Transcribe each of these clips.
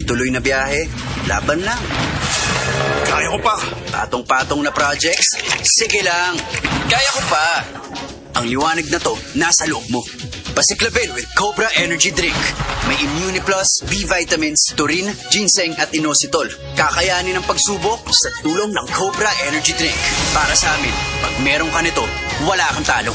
Tuloy-tuloy na biyahe, laban lang. Kaya ko pa. Patong-patong na projects, sige lang. Kaya ko pa. Ang liwanag na to, nasa loob mo. Pasiklabin with Cobra Energy Drink. May Immuni Plus, B vitamins, taurine, ginseng at inositol. Kakayanin ang pagsubok sa tulong ng Cobra Energy Drink. Para sa amin, pag meron ka nito, wala kang talo.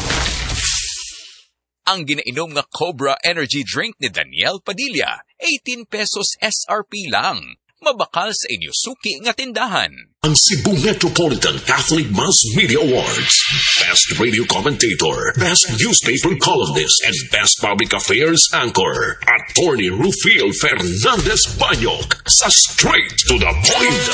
Ang ginainom nga Cobra Energy Drink ni Daniel Padilla, 18 pesos SRP lang. Mabakal sa inyo suki nga tindahan. Ang Cebu Metropolitan Catholic Mass Media Awards. Best Radio Commentator, Best Newspaper Columnist, and Best Public Affairs Anchor. Attorney Rufil Fernandez Banyok sa Straight to the Point.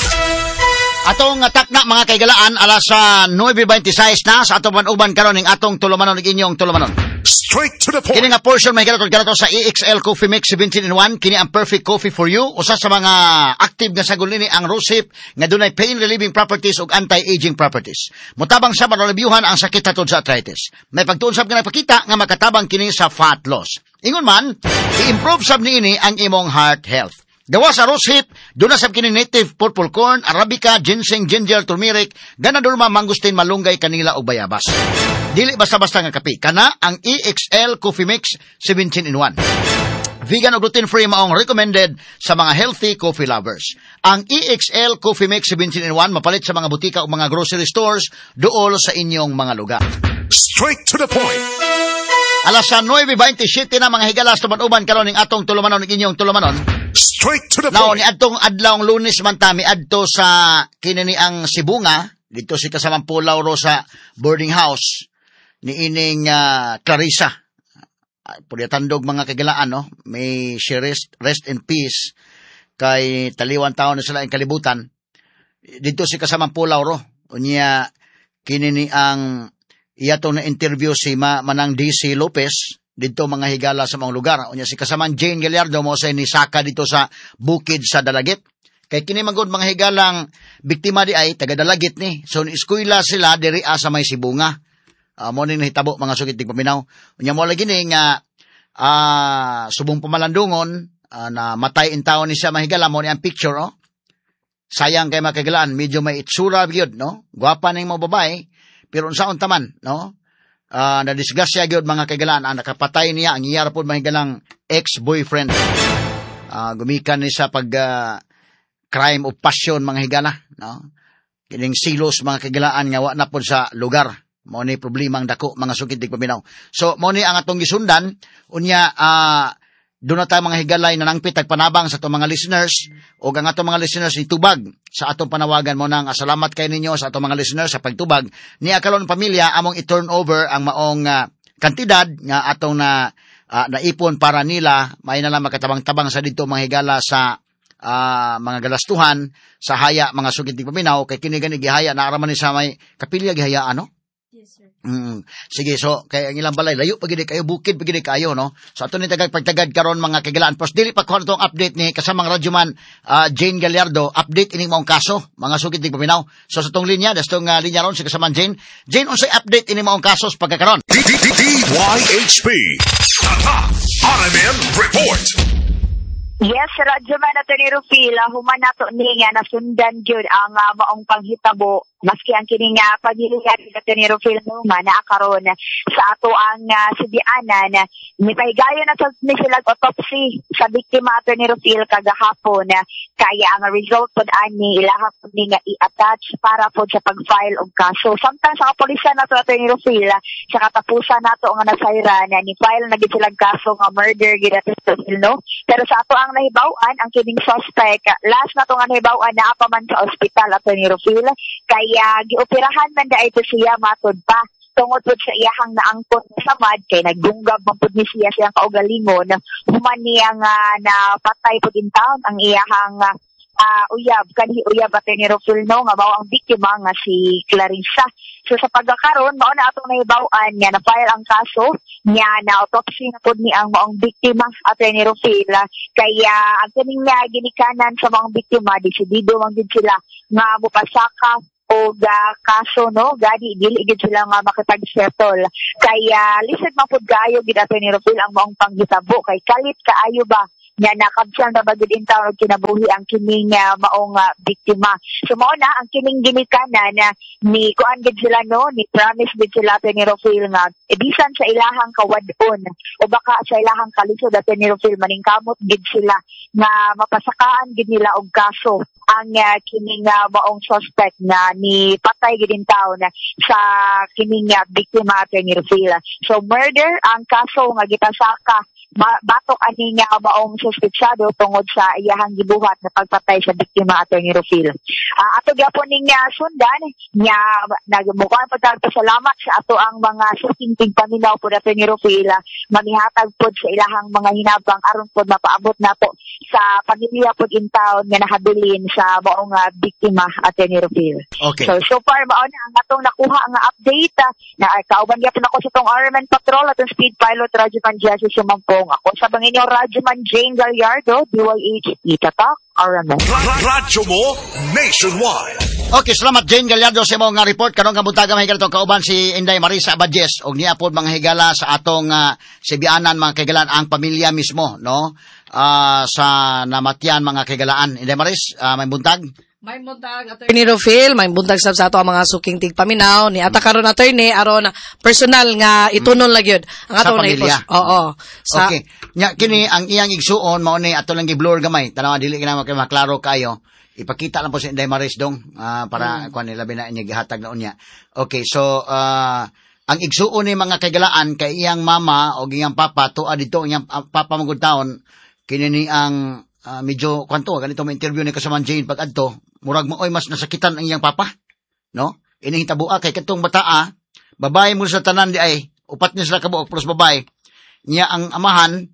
Atong takna, mga kaigalaan, alas sa 9:26 na sa atong uban karon ning atong tulumanon ug inyong tulumanon. Straight to the point. Kini nga portion may kag kanato sa EXL Coffee Mix 17 in 1. Kini ang perfect coffee for you. Usa sa mga active nga sagol nini ang rosehip nga dunay pain relieving properties ug anti-aging properties. Motabang sa maralibyuhan ang sakit hatod sa arthritis. May pagtuon sab nga nagpakita nga makatabang kini sa fat loss. Ingon man, i-improve sab niini ang imong heart health. Gawa sa rosehip, duna sab kini native purple corn, arabica, ginseng, ginger, turmeric, ganoderma, mangosteen, malunggay, kanila ug bayabas. Dili basta-basta nga kape. Kana ang EXL Coffee Mix 17 in 1. Vegan o gluten-free, maong recommended sa mga healthy coffee lovers. Ang EXL Coffee Mix 17 in 1 mapalit sa mga butika o mga grocery stores duol sa inyong mga lugar. Straight to the point. Alas sa 9:27 na, mga higala, sa uban karon ning atong tulumanon ug inyong tulumanon. Straight to the Now, point. ni adtong adlawng Lunes man ta miadto sa kini ni ang Sibunga, dito si kasamang Pulaw ro sa boarding house ni ining Clarissa. Pwede tandog, mga kagilaan, no? May she rest, rest in peace kay taliwan taon na sila ang kalibutan. Dito si kasamang Pulaw ro. Unya, kini ni ang iya na interview si Manang DC Lopez dito, mga higala, sa mga lugar. Unya si kasamang Jane Gallardo mo sa ni saka dito sa bukid sa Dalagit. Kay kini magod, mga higalang biktima di ay taga Dalagit ni. So ni eskwela sila diri sa may Sibunga. Mo ning nahitabo, mga sugit paminaw. Unya mo lagi ni nga subong pamalandungon na matay in taon ni siya, mga higala, mo ni ang picture, oh. Sayang kay, mga kagilaan, medyo may itsura gyud, no? Gwapa ning mga babae, pero unsaon taman, no? Na disgrasya gyud, mga kaigalaan, ang nakapatay niya ang iya ra pod, mga higalang, ex-boyfriend. Gumikan ni sa pag crime of passion, mga higala, no? Kining silos, mga kaigalaan, nga wa na pod sa lugar. Mao ni problema ang dako, mga sugid paminaw. So mao ni ang atong gisundan. Unya doon na tayo, mga higalay, na nangpit panabang sa atong mga listeners o ang atong mga listeners ni tubag sa atong panawagan mo nang salamat kay ninyo sa atong mga listeners sa pagtubag ni akalon pamilya among i-turn over ang maong kantidad nga atong na naipon para nila may na lang makatabang-tabang sa dito, mga higala, sa mga galastuhan sa haya, mga sugid paminaw, kay kini gani gihaya na araman ni sa may kapilya gihaya, ano. Yes, sir. Sige, so kay ang ilang balay layo pa gid kayo, bukid pa gid kayo, no. So ato ni tagag pagtagad karon, mga kagilaan. Pos dili pa kuha tong update ni kasamang radyoman Jane Gallardo, update ining maong kaso, mga sugid tig paminaw. So sa tong linya, dastong linya ron si kasamang Jane. Jane, unsay update ini maong kaso sa pagkakaron? D D D DYHP. Tatak RMN Report. Yes, Radyo Man, Atty. Rufil, human nato ni nga nasundan gyud ang maong panghitabo maski ang kini nga pamilya ni Atty. Rufil no nga naa karon sa ato ang sibianan. Mipahigayon na sa ni sila autopsy sa biktima, Atty. Rufil, kagahapon, kaya ang result pod ani ilaha pod ni nga i-attach para pod sa pag-file og kaso. Samtang sa kapolisan nato, Atty. Rufil, sa katapusan nato nga nasayran, ni file na gid silang kaso nga murder gid, Atty. Rufil, no? Pero sa ato ang nahibaw-an, ang kining suspect, last na to nga nahibaw-an, naa pa man sa ospital, Atty. Rufil, kaya gioperahan man da ito siya matod pa tungod pod sa iyahang naangkon nga samad kay naggunggab man pud ni siya siyang kaugalingon human niya nga napatay pud in town ang iyahang uyab, kanhi uyab, Atty. Rufil, no, nga mao ang biktima nga si Clarissa. So sa pagkakaron, mao na atong nahibaw-an nga na-file ang kaso niya, na autopsy na pud ni ang maong biktima, Atty. Rufil, kaya ang kining nga ginikanan sa maong biktima, desidido man gid sila nga mopasaka og kaso, no? Gani dili gid sila nga makipag-settle kaya lisod man pud kaayo gid, Atty. Rufil, ang maong panghitabo kay kalit kaayo ba. Nga nakabsang na bagid in town og kinabuhi ang kining maong biktima. So mao na ang kining ginikanan na ni kuan gid sila, no, ni promise gid sila, Attorney Rufil, nga bisan sa ilahang kawad-on o baka sa ilahang kalisod, Attorney Rufil, maningkamot gid sila nga mapasakaan gid nila og kaso ang kining maong suspect na ni patay gid in town sa kining biktima, Attorney Rufil. So murder ang kaso nga gipasaka batok ani nga maong suspetsado tungod sa iyahang gibuhat na pagpatay sa biktima, Attorney Rufil. Ato gyapon ning sundan nya nagmukuan pud ta salamat sa ato ang mga suking tigpaminaw pud, Attorney Rufil, mamihatag pud sa ilahang mga hinabang aron pud mapaabot nato sa pamilya pud in town nga nahabilin sa maong biktima, Attorney Rufil. Okay. So far mao na ang atong nakuha nga update na kauban gyapon ako sa tong RMN Patrol atong speed pilot Radyoman Jesse Sumampong. Ako sa bangin niyo Radyoman Jane Gallardo, DYH Itatak RMN. Radyo mo nationwide. Okay, salamat Jane Gallardo sa imong nga report karon nga buntaga mga higala kauban si Inday Marisa Abadjes og niya pod mga higala sa atong sibianan mga kahigalaan ang pamilya mismo, no? Sa namatyan mga kahigalaan. Inday Maris, may buntag. May buntag, Attorney Rufil, may buntag sab sa ato ang mga suking tigpaminaw ni ata karon, Attorney, aron personal nga itunol na gyud ang Sa atong pamilya. naipos. Oo. Sa Okay. Nya kini ang iyang igsuon mao ni ato lang gi-blur gamay. Tanawa dili kina kay maklaro kayo. Ipakita lang po sa Inday Maris dong para kuan nila labi na inya gihatag na unya. Okay, so ang igsuon ni mga kaigalaan kay iyang mama o iyang papa tuad dito iyang papa mangud taon kini ni ang medyo kwanto ganito may interview ni kasaman Jane pag adto murag maoy mas nasakitan ang iyang papa, no? Ini hitabua kay katong bataa babae mo sa tanan di ay upat ni sila kabuok plus babae niya ang amahan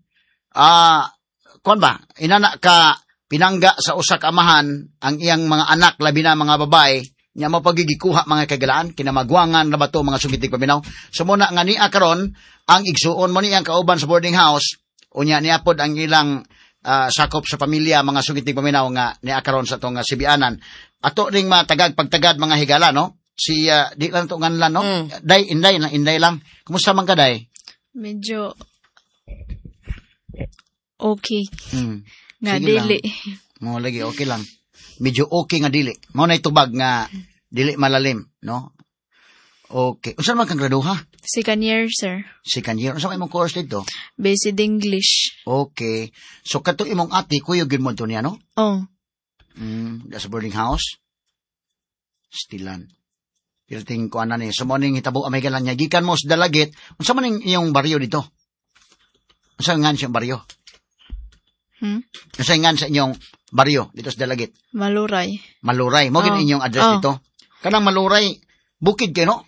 kuan ba inana ka pinangga sa usa ka amahan ang iyang mga anak labi na mga babae niya mapagigikuha mga kagalaan kinamagwangan na bato mga sugitig paminaw. So muna nga niya karon ang igsuon mo niyang kauban sa boarding house unya niya pod ang ilang sakop sa pamilya mga sugitig paminaw nga niya karon sa atong sibianan. Ato ring matagag pagtagad mga higala, no? Si di lang to nganlan, no? Day inday lang, inday lang. Kumusta man ka, day? Medyo okay. Nga Sige dili. Mo lagi okay lang. Medyo okay nga dili. Mao nay tubag nga dili malalim, no? Okay. Unsa man kang graduha? Second year, sir. Second year. Unsa man imong course dito? Basic English. Okay. So kato imong ate kuyog gyud mo to niya, no? Oh. Sa boarding house. Stilan. Pilting ko ana ni. So mo ning hitabo amay galan niya gikan mo sa Dalagit. Unsa man ning iyong baryo dito? Unsa ngan siyang baryo? Unsa ngan sa inyong baryo dito sa Dalagit? Maluray. Maluray. Mo gid inyong address dito. Kanang Maluray, bukid kay, no?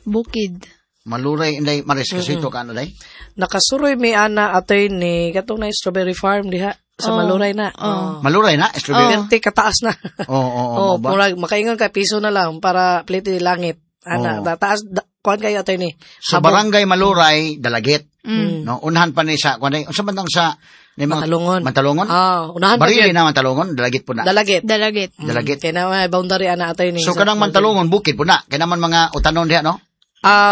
Bukid. Maluray inday Maris kasi ito ka ano day? Nakasuroy mi ana, Attorney, katong na strawberry farm diha sa Maluray na. Oh. Maluray na strawberry. Perti kataas na. Oo, ba? Murag makaingon ka piso na lang para plite langit. Ana, taas kuan kayo, Attorney. So barangay Maluray, Dalagit. No, unahan pa ni sa kuan day. Unsa man tang sa ni mga Mantalongon. Mantalongon? Unahan pa Barili gyud. na Mantalongon, Dalagit po na. Dalagit. Dalagit. Dalagit. Kay na may boundary ana, Attorney. So kanang Mantalongon bukid po na. Kay naman mga utanon diha, no?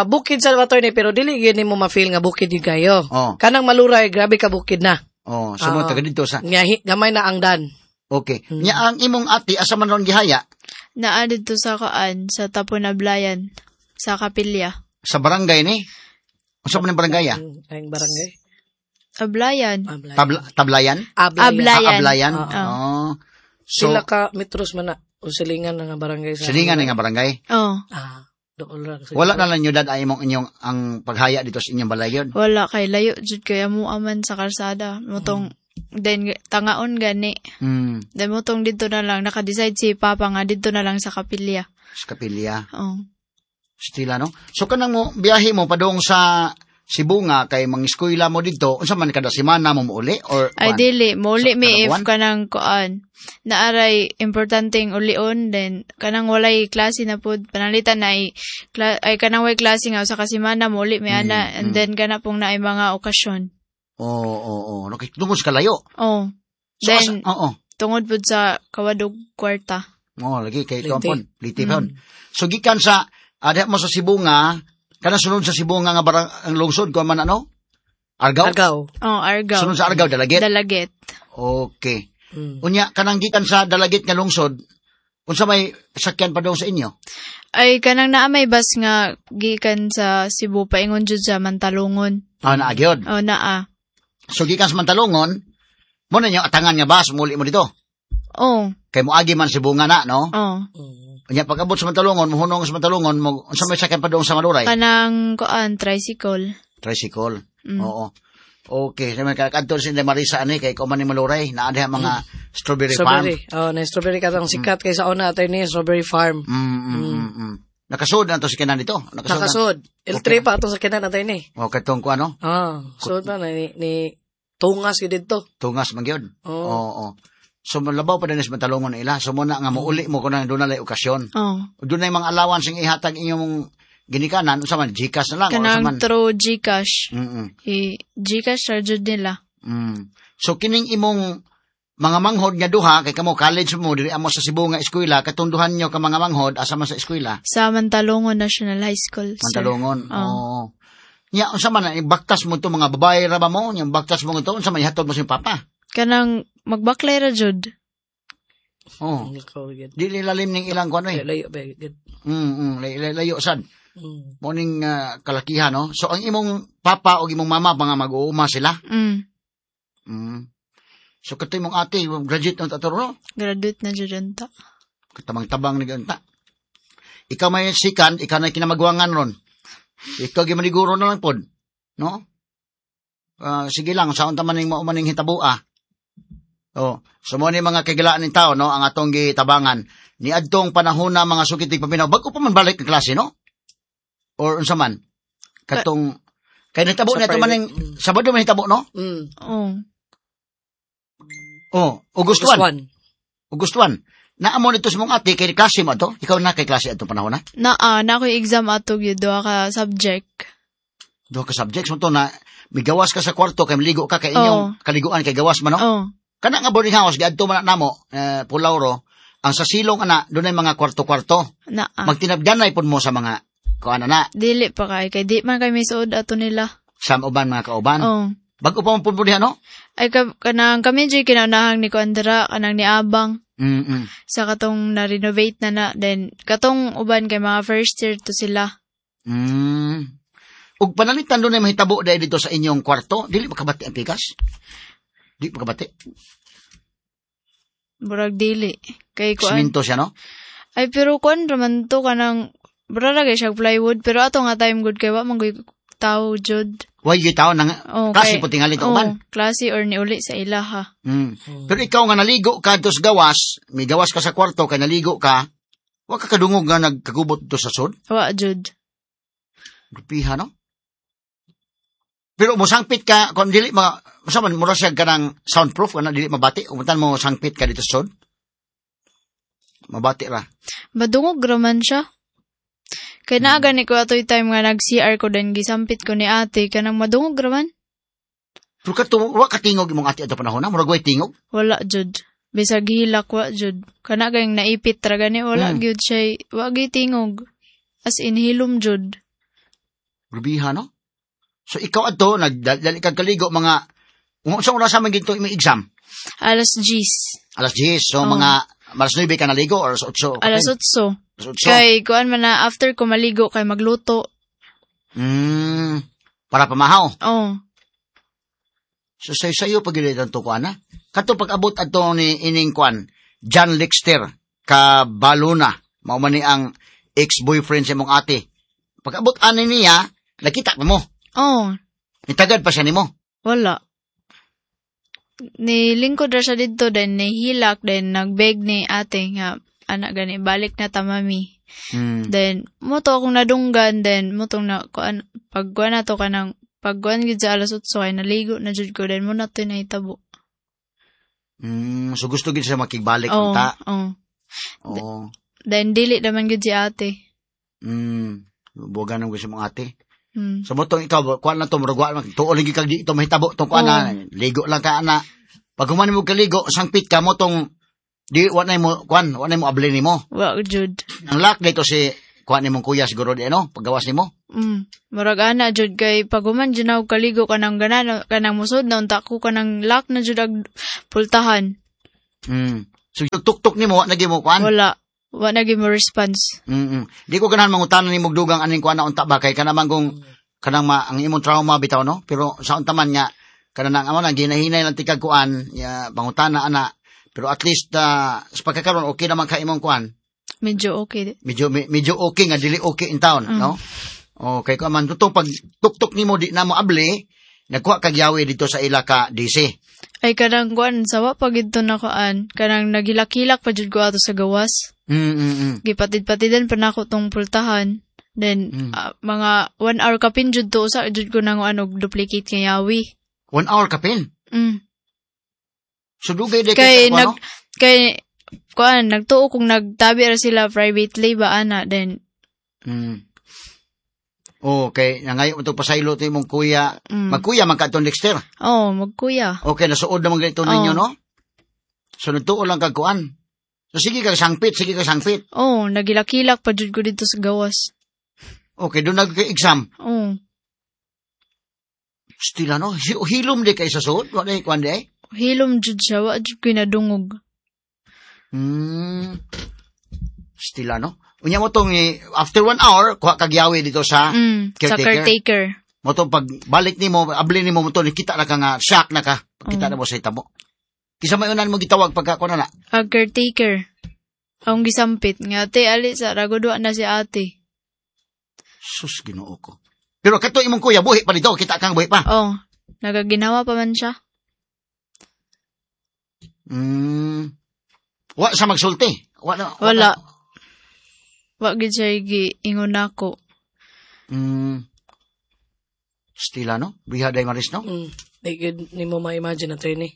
Bukid sa, Attorney, pero dili gyud nimo ma-feel nga bukid gyud kayo. Oh. Kanang Maluray grabe ka bukid na. Oh, so mo taga dito sa. Nga gamay na ang dan. Okay. Nya ang imong ate asa man ron gihaya? Naa dito sa kaan sa Taponablayan sa kapilya. Sa barangay ni? Unsa man ang barangay? Ang barangay. Ablayan. Tablayan? Ablayan. Ablayan. Oh. So sila ka metros man na o silingan na nga barangay sa. Silingan na nga barangay. Oh. Dool ra. Wala na lang yun ay imong inyong ang paghaya dito sa inyong balay yun. Wala kay layo jud kay mo aman sa kalsada. Motong then tangaon gani. Then motong dito na lang naka-decide si Papa nga dito na lang sa kapilya. Sa kapilya. Oh. Stila, no? So kanang mo biyahe mo padung sa Sibunga kay mangiskwela mo dito, unsa man kada semana mo muuli or ay kuan? dili muli Sa mi kada if buwan? kanang kuan naaray importanteng ulion then kanang walay klase na pud panalitan na ay, ay kanang way klase nga usa ka semana muli mi ana and then kana pong naay mga okasyon. Oo. Okay, tungod sa kalayo. Oh. So, Then oo. tungod pud sa kawadog kwarta. Oh, lagi kay kampon, liti pon. So gikan sa adha mo sa Sibunga, kanang sunod sa Sibunga nga barang ang lungsod kuan man ano? Argao. Argao. Oh, Argao. Sunod sa Argao, Dalagit. Dalagit. Okay. Mm. Unya kanang gikan sa Dalagit nga lungsod, unsa may sakyan pa daw sa inyo? Ay kanang naa may bus nga gikan sa Cebu paingon jud sa Mantalungon. Ah, naa gyud. Oh, naa. So gikan sa Mantalungon, mo na inyo atangan nga bus muli mo dito. Oh, Kay moagi man si Bunga na, no? oh. Unya pag abot sa Mantalungon, mohunong sa Mantalungon, mo unsa may sakyan pa doon sa Maluray? Kanang kuan tricycle. Tricycle. Mm. Oo. Okay, sa mga kadto si Marisa ani kay kuman ni Maluray, naa diha mga strawberry, farm. Strawberry. Oh, na strawberry katong sikat kay sa una, attorney, strawberry farm. Nakasud na to si Kenan dito. Nakasud. Na. Nakasud. L3 pa atong sa kinan, attorney. O katong ko ano, Ah, sud pa na ni tungas gyud didto. tungas man gyud. Oo. Oo. So malabaw pa din sa Mantalungon ila. So muna nga muuli mo kuno doon na lay okasyon. Oh. Doon na mga allowance ang ihatag inyong ginikanan, unsa man GCash na lang o unsa Kanang man. through GCash. Mm. I GCash ra jud nila. So kining imong mga manghod nga duha kay kamo college mo diri amo sa Cebu nga eskwela katunduhan nyo ka mga manghod asa man sa eskwela Sa Mantalungon National High School, sir. Mantalungon. Oo. Oo. Nya unsa man na, baktas mo to mga babae ra ba mo? Nya baktas mo to unsa man ihatod mo sa imong papa? Kanang magbaklay ra jud. Oh. Nakaw gyud. Dili lalim ning ilang kuan eh. Layo ba gyud. Layo sad. Mm. Mo ning kalakihan no. So ang imong papa o imong mama mga mag-uuma sila. Mm. So kato imong ate graduate ng taturo no? Graduate na jud unta. Katabang-tabang ni unta. Ikaw may sikan, ikaw na kinamagwangan ron. Ikaw gimaniguro na lang pod. No? Ah, sige lang, sa unta man ning mao man ning hitabua. Oh, so mo ni mga kagilaan ning tao no, ang atong gitabangan ni adtong panahon na mga sukit tig paminaw bago pa man balik ang klase no? Or unsa man? Katong kay nahitabo Sa na ito man private. ning Sabado man hitabo no? Oh. Oh, August August 1. 1. August 1. Naamo nito sa mong ate kay klase mo ato. Ikaw na kay klase atong panahon na. Naa na ako'y exam ato gyud duha ka subject. Duha ka subjects mo to na migawas ka sa kwarto kay maligo ka kay inyong kaliguan kay gawas man no. Oh. Kana nga boarding house giadto man na namo Pulauro ang sa silong ana dunay mga kwarto-kwarto. Naa. Magtinabganay pud mo sa mga kuan na Dili pa kay kay di man kay may suod ato nila. sa uban mga kauban. Oh. Bago pa man pud diha no? Ay ka, kanang kami jud kinaunahang ni Kuandra kanang ni Abang sa katong na-renovate na na then katong uban kay mga first year to sila. Ug panalitan dunay mahitabo dahil dito sa inyong kwarto, dili makabati ang pikas. Di makabati. Murag dili kay kuan. Siminto siya no? Ay pero kuan raman to kanang bra ra kay siya plywood pero ato nga time good kay wa man gyud tao jud. Way gyud taon nang Oh, klase po tingali to oh, uban. klase or niuli sa ila ha. Pero ikaw nga naligo ka dos gawas, may gawas ka sa kwarto kay naligo ka, wa ka kadungog nga nagkagubot to sa sud. Wa jud. Grupiha no? Pero mosangpit ka kung dili ma sa man mura siya kanang soundproof kana dili mabati, umuntan mo sangpit ka dito sa sud. Mabati ra. Madungog raman siya. Kay naa gani ko atoy time nga nag-CR ko then gisampit ko ni ate kanang madungog raman. Pero kato wa ka tingog imong ate ato panahon na, murag way tingog. Wala jud. Bisag hilak wa jud. Kana gayong naipit ra gani wala gyud siya wa gyud tingog. As in hilom jud. Grubiha no? So ikaw adto nagdali kag kaligo mga unsa oras man gito imong exam? Alas 10. Alas 10. So Oo. mga alas 9 ka naligo or alas 8? Alas 8. Alas 8. Kay kuan man na after ko maligo kay magluto. Para pamahaw. Oh. So sayo-sayo pag gilid ang tukuan na. Kato pag-abot adto ni ining kuan, John Lexter ka Baluna, mao man ni ang ex-boyfriend sa imong ate. Pag-abot ani niya, nakita pa mo. Oh, Nitagad pa siya nimo. wala. Nilingkod ra siya didto then nihilak then nagbeg ni ate nga anak gani balik na ta mami. Then mo to akong nadunggan then mo tong na kuan pag kuan na to kanang pag kuan gid sa alas 8 kay naligo na jud ko then mo na to nahitabo. So gusto gid siya makigbalik Oh, unta. oh. Oo. Then dili naman gid si ate. Buwagan ang gusto mong ate. So mo tong ikaw, kuan na to, murag wa lang, tuol lagi kag di ito mahitabo tong kuan na, ligo lang ka ana. Pag human mo kaligo, sangpit ka mo tong di wa na mo kuan, wa na mo abli nimo. Wa jud. Ang lock dito si kuha nimong kuya siguro di ano, paggawas nimo. Murag ana jud kay paguman jud na og kaligo kanang ganan kanang musod na unta ko kanang lock na jud ag pultahan. So tuktok nimo wa na gyud mo kuan. Wala. Wa na gyud mo response. Di ko ganahan mangutana nimo og dugang aning kuan na unta ba kay kanang kung kanang ang imong trauma bitaw no, pero sa unta man nga kanang amo na ginahinay lang tikag kuan ya pangutana ana, pero at least sa pagkakaron okay naman ka imong kuan. Medyo okay. Medyo okay nga dili okay in town, no? Okay ko man tutong pag tuktok nimo di na mo abli, nagkuha kag yawi dito sa ila ka DC. Ay kanang kuan sawa pa gid to na kuan, kanang nagilak-hilak pa jud ko ato sa gawas. Gipatid-patidan pa nako tong pultahan. Then mga 1 hour kapin jud to usa jud ko nang og duplicate nga yawi. 1 hour kapin? So dugay di kay nag kay kuan nagtuo kung nagtabi ra sila privately ba ana then Okay, nangayo mo to pasaylo to imong kuya. Magkuya man ka aton Dexter. Oh, magkuya. Okay, nasuod naman ganito ninyo no. So nagtuo lang kag kuan. So sige kag sangpit, sige kag sangpit. Oh, nagilak-hilak pa jud ko dito sa gawas. Okay, doon nag-exam. Oh. Stila no, hilom di kay sa suod, wa di kuan di ay. Hilom jud siya, wa jud ko nadungog. Stila no. Unya mo tong after 1 hour kuha kag yawi dito sa caretaker. Sa caretaker. Mo tong pag balik nimo, abli nimo mo to nikita na ka nga shock na ka. Pagkita na mo sa itabo. Kisa may unan mo gitawag pagka kuan na. Ang caretaker. Ang gisampit nga ate ali sa ragudwa na si ate. Sus Ginoo ko. Pero kato imong kuya buhi pa dito, kita kang buhi pa. Oh, nagaginawa pa man siya. Wa sa magsulti. Wala. Wala. Wa gid siya giingon nako. Stila no? Biha day Maris no? Di gid nimo ma-imagine attorney.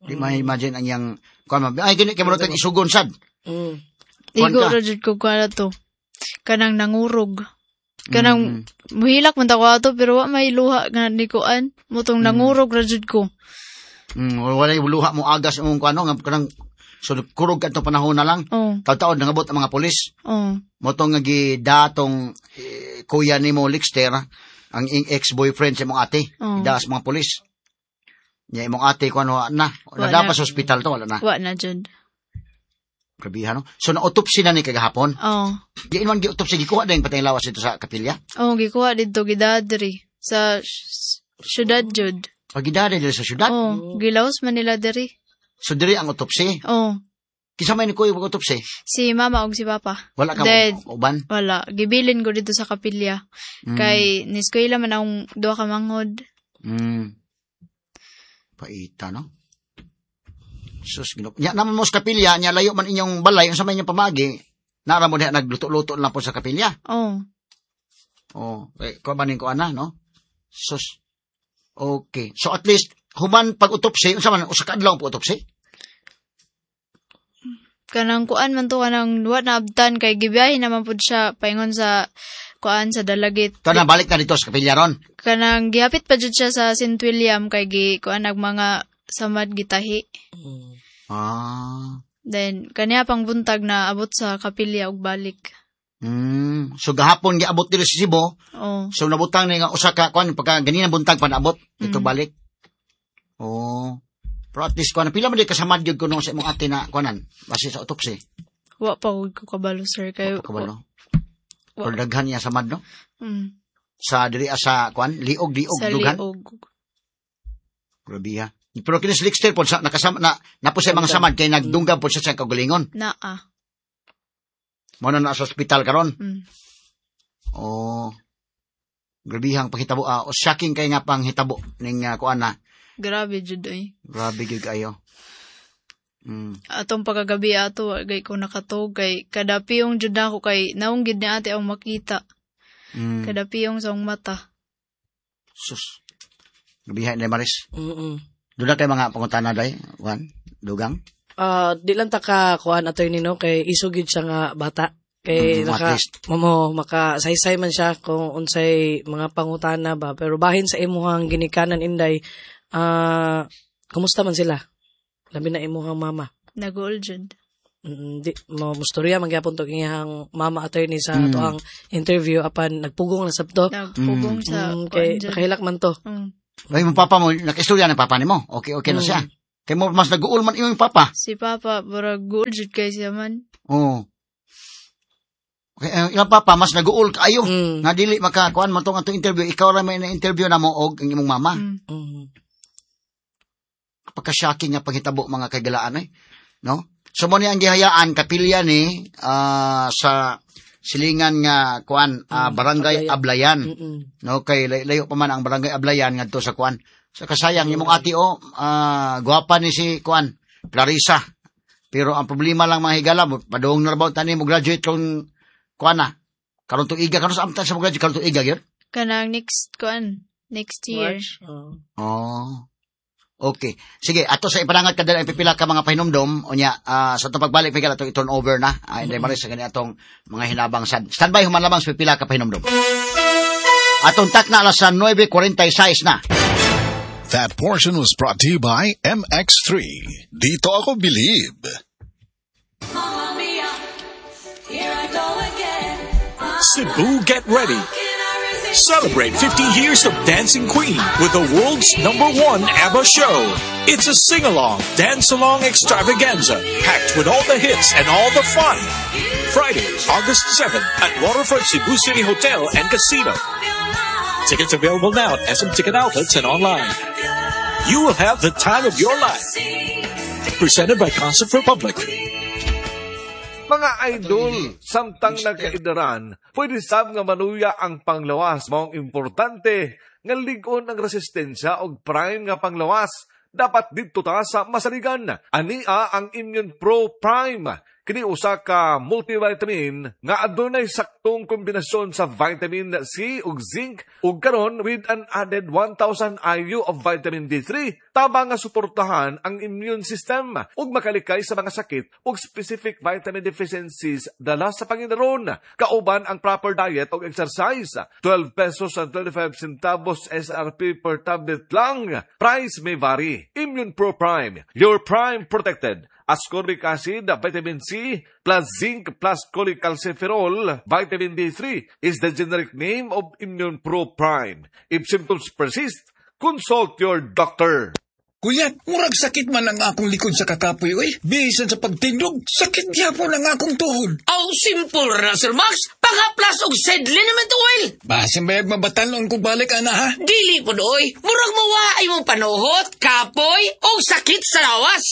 Di ma-imagine ang iyang kuan ay gini kay mo tag isugon sad. Igo ra jud ko kuan to. Kanang nangurog. Kanang muhilak man ta ko ato pero wa may luha nga ni kuan. Mutong nangurog ra jud ko. Wala luha mo agas imong kuan no kanang so kurog kadto panahon na lang. Oh. Taud-taod nangabot ang mga pulis. Oh. Motong nga gidatong kuya nimo Lexter ang ex-boyfriend sa imong ate. Oh. Gidaas mga pulis. Nya imong ate kuan wa na. Nada pa sa ospital to wala na. Wa na jud. Grabihan no. So na-autopsy na ni kagahapon. Oh. Diin man gi-autopsy gikuha din patay lawas dito sa kapilya. Oh, gikuha didto gidadri sa syudad jud. Pagidadri diri sa syudad. Oh, gilaos man nila diri. So diri ang autopsy. Oh. Kinsa may ni kuya og autopsy? Si mama og si papa. Wala ka uban? Wala, gibilin ko dito sa kapilya. Kay niskwela man akong duha ka manghod. Paita no. Sus Ginoo. Nya naman mo sa kapilya, nya layo man inyong balay unsa may inyong pamagi. Nara mo diha nagluto-luto lang po sa kapilya. Oh. Oh, kay ko man ko ana no. Sus. Okay. So at least human pag-autopsy, unsa man usa ka adlaw po autopsy? Kanang kuan man to kanang wa na abtan kay gibiyahe naman pud siya paingon sa kuan sa Dalagit. Kanang balik na dito sa kapilya ron. Kanang gihapit pa jud siya sa St. William kay gi kuan nag mga samad gitahi. Ah. Then kaniya pang buntag na abot sa kapilya og balik. So gahapon giabot diri sa Cebu. Oh. So nabutang ni nga usa ka kuan pagka ganina buntag pa naabot dito balik. Oh. Pero at least kuan pila man di kasamad gyud kuno sa imong ate na kuanan base sa autopsy. Wa pa ko kabalo sir kay wa pa kabalo. Pero daghan niya samad no. Sa diri sa kuan liog sa dughan. Liog. Grabe ha. Pero kini si Lexter pod sa nakasama na napo sa mga samad kay nagdunggab pod siya sa kaugalingon. Naa. Mo na sa ospital karon. Oh. Grabihang panghitabo, shocking kay nga panghitabo ning kuan na. Grabe jud oy. Grabe gyud kayo. Atong pagkagabi ato wa gay ko nakatog kay kada piyong jud nako kay naong gid ni ate ang makita. Kada piyong sa akong mata. Sus. Grabihan ni Maris. Doon na kay mga pangutana day, Juan, dugang. Di lang ta ka kuan attorney no kay isog gyud siya nga bata. Kay naka mamo makasaysay man siya kung unsay mga pangutana ba pero bahin sa imuhang ginikanan Inday, kumusta man sila? Labi na imuhang mama. Naguol jud. Di mo mustorya man gyapon to iyang mama, attorney, sa atoang interview, apan nagpugong na sabto. Nagpugong sa kay kuan dyan. Nakahilak man to. Ay, mo papa mo, naka-istorya ng papa nimo. Okay, okay na siya. Kay mo mas nag-uul man imong papa. Si papa, burag guol jud kay siya man. Oo. Okay, ilang papa mas nag-uul kaayo. Nga dili makakuan man tong atong interview, ikaw ra may na-interview na mo og ang imong mama. Pagka-shocking nga panghitabo, mga kaigalaan eh. No? So mo ni ang gihayaan kapilya ni sa silingan nga kuan barangay Ablayan. No, kay layo pa man ang barangay Ablayan ngadto sa kuan. Sa kasayang imong ate o gwapa ni si kuan Clarissa. Pero ang problema lang, mga higala, padung na rabaw tani mo graduate kung kuan na. Karon tuiga, karon sa amtan sa mo graduate karon tuiga gyud. Kanang next kuan, next year. March. Oh. Oh. Okay. Sige, ato sa ipanangat kadala ang pipila ka mga pahinumdom unya sa atong pagbalik pigala atong i-turn over na. Hindi maris sa gani atong mga hinabang sad. Standby human lamang sa pipila ka pahinumdom. Atong takna alas sa 9:46 na. That portion was brought to you by MX3. Dito ako believe. Mamma mia, here I go again. Cebu, get ready. Celebrate 50 years of Dancing Queen with the world's number one ABBA show. It's a sing-along, dance-along extravaganza packed with all the hits and all the fun. Friday, August 7th at Waterfront Cebu City Hotel and Casino. Tickets available now at SM Ticket Outlets and online. You will have the time of your life. Presented by Concert Republic. Mga idol, samtang nagkaidaran, pwede sab nga maluya ang panglawas. Maong importante nga lig-on ang resistensya og prime nga panglawas. Dapat didto ta sa masaligan. Ania ang Immune Pro Prime. Kini usa ka multivitamin nga adunay saktong kombinasyon sa vitamin C ug zinc ug karon with an added 1000 IU of vitamin D3, tabang nga suportahan ang immune system ug makalikay sa mga sakit ug specific vitamin deficiencies dala sa pangidaron, kauban ang proper diet ug exercise. 12 pesos and 25 centavos SRP per tablet lang. Price may vary. Immune Pro Prime, your prime protected. Ascorbic acid, vitamin C, plus zinc, plus cholecalciferol, vitamin D3 is the generic name of Immune Pro Prime. If symptoms persist, consult your doctor. Kuya, murag sakit man ang akong likod sa kakapoy, oy. Bisan sa pagtindog, sakit gyapon ang akong tuhod. Aw, simple ra, Sir Max. Panghaplas og Seed Liniment Oil. Basin bayag mabatanon ko balik, ana, ha? Dili po oy. Murag mawa ay mong panuhot, kapoy, o sakit sa lawas.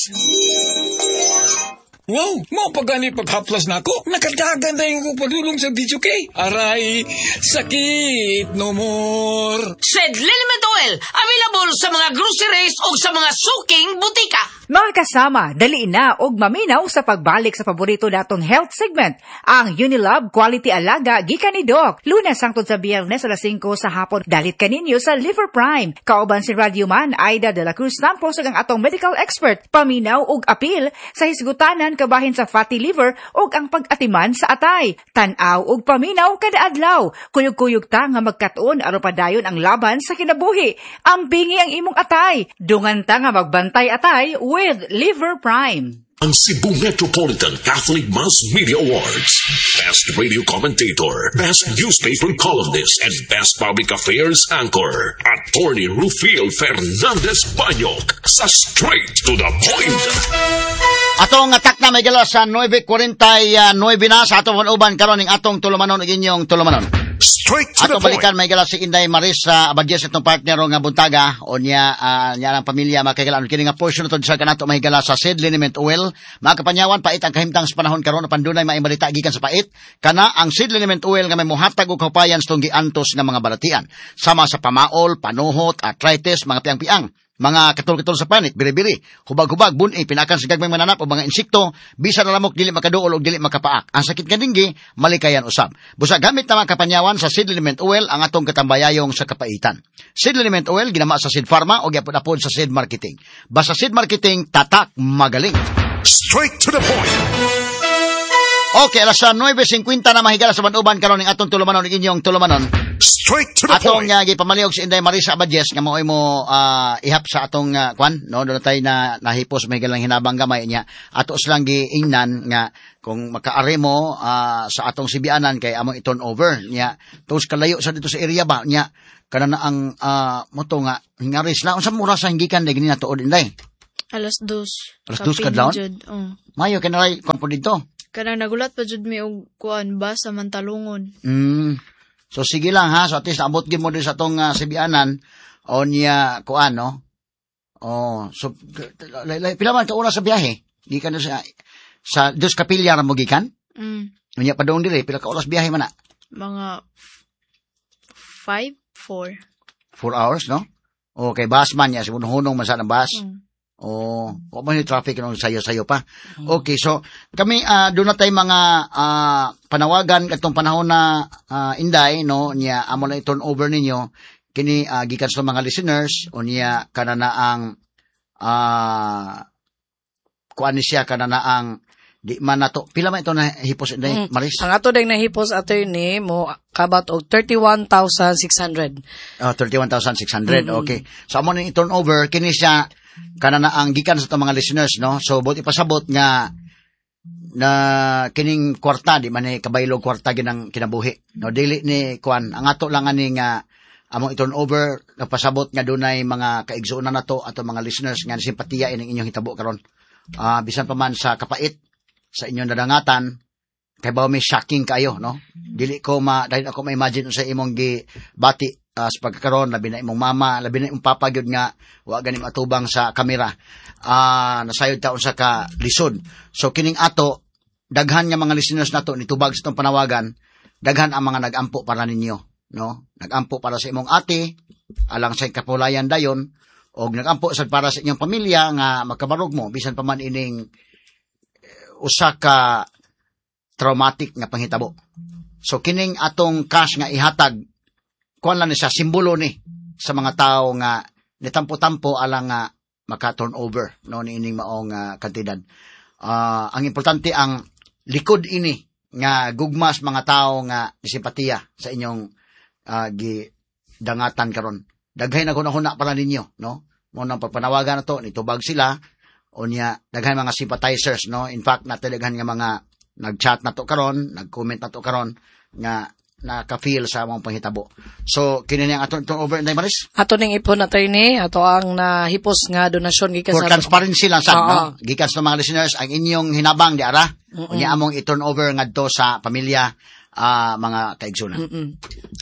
Wow, mao pa gani paghaplas nako. Nakadagan na yung padulong sa DJK. Aray, sakit no more. Seed Liniment Oil, available sa mga groceries o sa mga suking butika. Mga kasama, dali na og maminaw sa pagbalik sa paborito natong health segment, ang Unilab Quality Alaga gikan ni Doc. Lunes hangtod sa Biyernes alas 5 sa hapon. Dalit kaninyo sa Liver Prime. Kauban si Radyo Man Aida de la Cruz Lampos ug ang atong medical expert. Paminaw og apil sa hisgutanan kabahin sa fatty liver ug ang pag-atiman sa atay. Tan-aw ug paminaw kada adlaw. Kuyog-kuyog ta nga magkat-on aron padayon ang laban sa kinabuhi. Ampingi ang imong atay. Dungan ta nga magbantay atay with Liver Prime. Ang Cebu Metropolitan Catholic Mass Media Awards. Best Radio Commentator, Best Newspaper Columnist, and Best Public Affairs Anchor. Attorney Rufil Fernandez Banyok sa Straight to the Point. Atong atak na may gala sa 9:49 na sa atong uban karon ning atong tulumanon ug inyong tulumanon. Straight to Atong the point. balikan may gala si Inday Maris sa Abadjes, itong partner nga buntaga o niya niya ang pamilya, mga kahigalaan. Kini nga portion to sa kanato mahigala sa Seed Liniment Oil. Mga kapanyawan, pait ang kahimtang sa panahon karon apan dunay maayong balita gikan sa pait. Kana ang Seed Liniment Oil nga may mohatag og kaupayan sa tong giantos nga mga balatian. Sama sa pamaol, panuhot, arthritis, mga piang-piang, mga katol-katol sa panit, biri-biri, hubag-hubag, buni, pinakan sa gagmay mananap o mga insekto, bisan na lamok dili makaduol o dili makapaak. Ang sakit nga dinggi, malikayan usab. Busa gamit na mga kapanyawan sa Seed Liniment Oil ang atong katambayayong sa kapaitan. Seed Liniment Oil ginama sa Seed Pharma o gyapon-apod sa Seed Marketing. Basta Seed Marketing, tatak magaling. Straight to the point. Okay, alas 9:50 na mahigala sa banuban karon ning atong tulumanon ug inyong tulumanon. Straight to the Atong point. Gipamaliog si Inday Marisa Abadjes nga maoy mo ihap sa atong kwan, no, doon tayo na nahipos may galang hinabang gamay niya. Ato silang giingnan nga kung makaari mo sa atong sibianan kay among i-turn over niya. Tos kalayo sa dito sa area ba niya kana na ang moto nga hingaris na unsa mura sa hinggikan day gini natuod Inday. Alas 2. Alas 2 kadlawon? Oh. Mayo kanaray kwan po dito. Kanang nagulat pa jud mi og kuan ba sa mantalungon. So sige lang ha, so at least naabot gyud mo din sa atong sibianan o niya kuan, no. Oh, so pila man ka oras sa biyahe? Gikan sa Dos Kapilya ra mo gikan? Unya padung diri pila ka oras biyahe man na? Mga 5, 4. 4 hours, no? Okay, bus man niya, hunong man sa ng bus. Oh, wa man yung traffic nung sayo-sayo pa. Okay, so kami doon na tayo mga panawagan katong panahon na Inday, no, niya amo na i-turn over ninyo kini gikan sa mga listeners o niya kana na ang kuan ni siya kana na ang di man nato pila man ito na hipos Inday Maris? Ang ato ding nahipos attorney mo kabat og 31,600. 31,600. Okay. So amo ning i-turn over kini siya kana na ang gikan sa itong mga listeners, no? So buot ipasabot nga na kining kwarta di man ni kabaylog kwarta ginang kinabuhi, no? Dili ni kuan ang ato lang ani nga among i-turn over napasabot nga dunay mga kaigsuonan nato ato mga listeners nga simpatiya ining inyong hitabo karon. Bisan pa man sa kapait sa inyong nadangatan kay bawo may shocking kayo, no? Dili ko ma dahil ako ma-imagine sa imong gibati sa pagkakaroon, labi na imong mama, labi na imong papa gyud nga wa gani matubang sa kamera. Nasayod ta unsa ka lisod. So kining ato daghan nga mga listeners nato nitubag sa itong panawagan, daghan ang mga nagampo para ninyo, no? Nagampo para sa imong ate, alang sa kapulayan dayon, og nagampo sad para sa inyong pamilya nga makabarog mo bisan pa man ining usa ka traumatic nga panghitabo. So kining atong cash nga ihatag kuan lang ni siya, simbolo ni sa mga tao nga nitampo-tampo alang nga maka-turn over, no, niining maong kantidad. Ang importante ang likod ini nga gugmas mga tao nga simpatiya sa inyong gidangatan karon. Daghay na hunahuna para ninyo, no? Mo nang pagpanawagan na to, nitubag sila o niya daghay mga sympathizers, no? In fact, natadaghan nga mga nag-chat na to karon, nag-comment na to karon nga naka-feel sa among panghitabo. So, kini niya ang atong turn over, Inday Maris? Ato ning ipon, attorney, ato ang nahipos nga donasyon gikan For sa transparency lang sad, no? Gikan sa mga listeners, ang inyong hinabang di ara, unya among i-turn over ngadto sa pamilya, mga kaigsunan.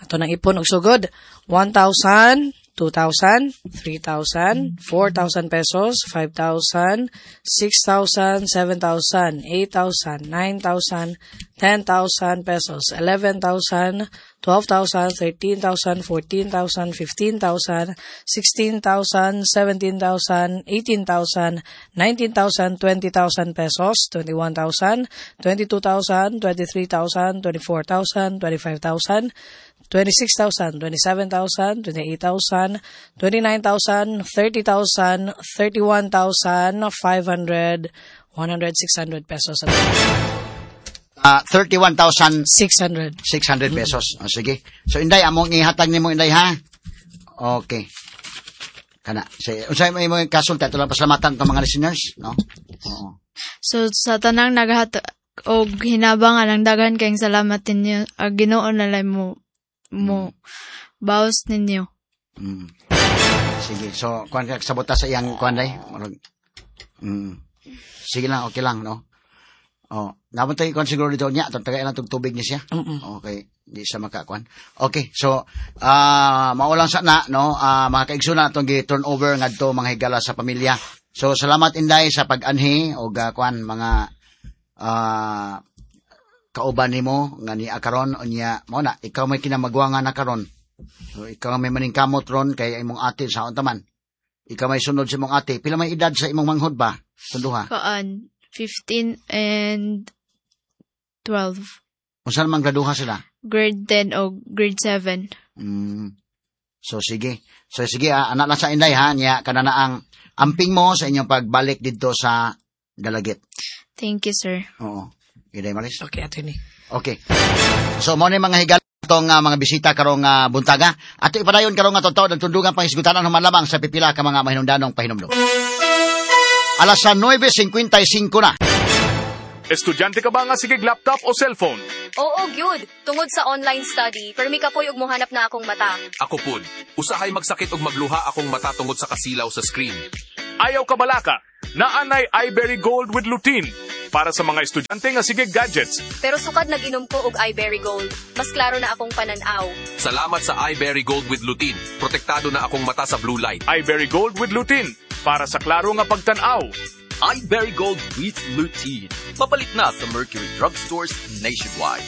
Ato nang ipon og sugod, 1,000, 2,000, 3,000, 4,000 pesos, 5,000, 6,000, 7,000, 8,000, 9,000, 10,000 pesos, 11,000, 12,000, 13,000, 14,000, 15,000, 16,000, 17,000, 18,000, 19,000, 20,000 pesos, 21,000, 22,000, 23,000, 24,000, 25,000, 26,000, 27,000, 28,000, 29,000, 30,000, 31,500, 100, 600 pesos. 31,600 600 pesos. Oh, sige. So Inday, among ihatag nimo Inday ha. Okay. Kana. Sige, unsay may imong kasulti ato lang pasalamatan tong mga listeners, no? Oo. So sa tanang naghat og hinabang alang daghan kayong salamat ninyo. Ang Ginoo na lang mo bawas ninyo. Sige. So kuan ka sabota sa iyang kuan day. Sige lang, okay lang, no? Oh, naman tayo kuan siguro dito niya, atong tagay lang tubig niya siya. Okay, di siya makakuan. Okay, so mao lang sa na, no, mga kaigsoon atong gi-turn over ngadto mga higala sa pamilya. So salamat Inday sa pag-anhi og kuan mga kauban nimo nga ni karon unya mao na ikaw may kinamagwangan na karon. So ikaw may maningkamot ron kay imong ate sa unta man. Ikaw may sunod sa imong ate. Pila may edad sa imong manghod ba? Tunduha. Kaan 15 and 12. Unsa man graduha sila? Grade 10 o grade 7. So sige. So sige, anak lang sa Inday ha niya kana na ang amping mo sa inyong pagbalik didto sa Dalagit. Thank you, sir. Oo. Inday Maris. Okay, attorney. Okay. So mo ni mga higala Atong mga bisita karong buntaga. Ato ipadayon karong nga totoo ng tundugang pangisgutanan human lamang sa pipila ka mga mahinungdanong pahinumdum. Alas 9:55 na. Estudyante ka ba nga sige laptop o cellphone? Oo, gyud. Tungod sa online study, permi kapoy og mohanap na akong mata. Ako pud, usahay magsakit og magluha akong mata tungod sa kasilaw sa screen. Ayaw ka balaka. Naanay iBerry Gold with Lutein para sa mga estudyante nga sige gadgets. Pero sukad nag-inom ko og iBerry Gold, mas klaro na akong pananaw. Salamat sa iBerry Gold with Lutein. Protektado na akong mata sa blue light. iBerry Gold with Lutein para sa klaro nga pagtan-aw. iBerry Gold with Lutein. Mapalit na sa Mercury Drugstores nationwide.